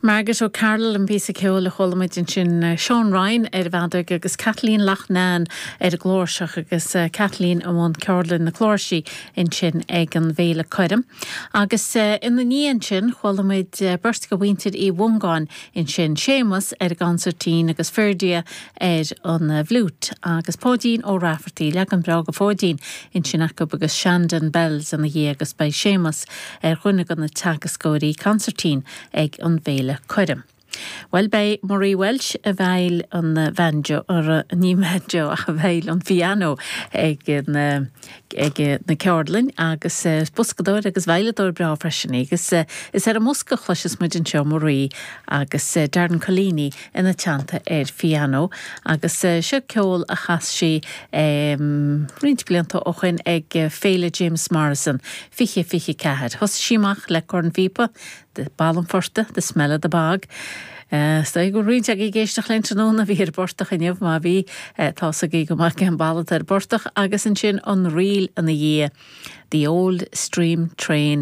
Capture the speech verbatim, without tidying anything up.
Margaret O'Carroll an píosa ceoil a chuala muid ansin eh, Sean Ryan ar an bhfeadóg agus Kathleen Loughnane ar an gcláirseach agus eh, Kathleen amháin ceardlann na cláirsí ansin ag an bhFéile Coirm. Agus eh, ina dhiaidh sin chuala muid beirt de mhuintir Uí Mhongáin ansin Séamus ar an gconsairtín agus Ferdia ar an bhfliúit agus Páidín Ó Raifeartaigh leagan breá de Pháidín ansin acu agus Shandon Bells ina dhiaidh agus beidh Séamus ar dhuine de na teagascóirí consairtín ag an bhFéile Coirm. Well beidh Marie Welsh ag veidhil an banjo ar ní banjo ach ag veidhil an piano ag an ag na ceardlainn agus boscadóir agus veidhleadóir breá freisin agus is ar an mbosca a chloisfeas muid anseo Marie agus Darren Collini ina teannta ar piano agus seo ceol a chas sí um, roinnt blianta ó shin ag Féile James Morrison fiche fiche ceathair. Thosaigh sí amach le cornphíopa de Ball an Phortaigh, the smell of the bog. Uh, go roinnt ag éisteacht linn tráthnóna bhí ar portach inniu má bhí tá go maith an balat ar portach agus ansin an ríl ina dhiaidh. The Old Steam Train